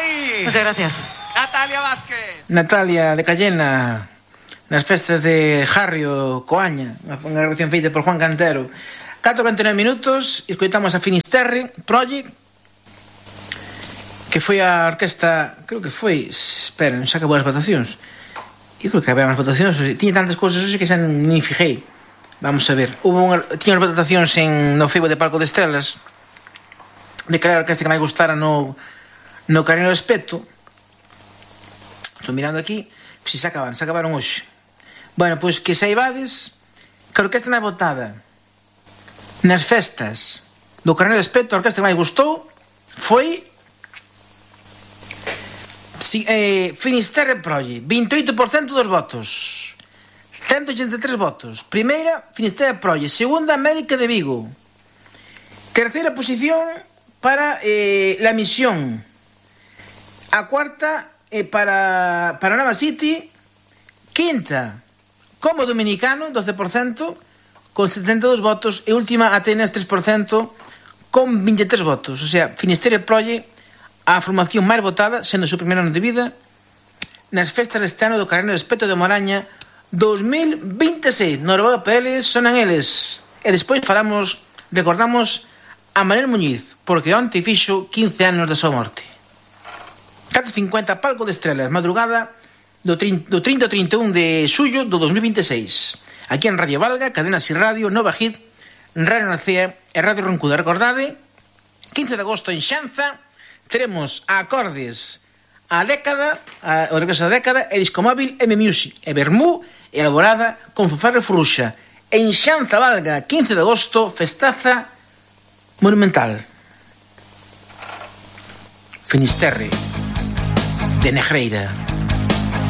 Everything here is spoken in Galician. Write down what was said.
aí. Muchas gracias. Natalia Vázquez. Natalia de Cayena, nas festas de Jarrio, Coaña, unha grabación feita por Juan Cantero. 4:49 minutos, escoitamos a Finisterre Project, que foi a orquesta, creo que foi, esperen, xa acabou as votacións. Eu creo que había as votacións, tiña tantas cousas hoxe que xa nin fijei. Vamos a ver, tiña as votacións no Facebook de Palco de Estrelas, de que era a orquesta que máis gustara no Carino do Espeto. Estou mirando aquí, se acabaron hoxe. Bueno, pois que saibades que a orquesta máis votada nas festas do Carneiro de Espeto, a orquesta que máis gustou foi Finisterre Project, 28% dos votos, 183 votos. Primeira, Finisterre Project. Segunda, América de Vigo. Terceira posición para La Misión. A cuarta para Nova City. Quinta, Como Dominicano, 12%, con 72 votos. E última, Atenas, 3%, con 23 votos. O sea, Finisterre Project, a formación máis votada, sendo o seu primeiro ano de vida, nas festas deste ano do Carneiro de Espeto de Moraña 2026. Noruega PL sonan eles. E despois recordamos a Manel Muñiz, porque onte fixo 15 anos da súa morte. 4:50, Palco de Estrelas, madrugada do 30 ao 31 de xullo do 2026. Aquí en Radio Valga, Cadena Si Radio, Nova Hit, Radio Nacea e Radio Roncuda. Recordade, 15 de agosto en Xanza, teremos a Acordes, a Década, o regreso da Década, e Discomóvil M Music, e Bermú, e elaborada con Fanfarre Fruxa. En Xanza Valga, 15 de agosto, festaza monumental. Finisterre de Negreira.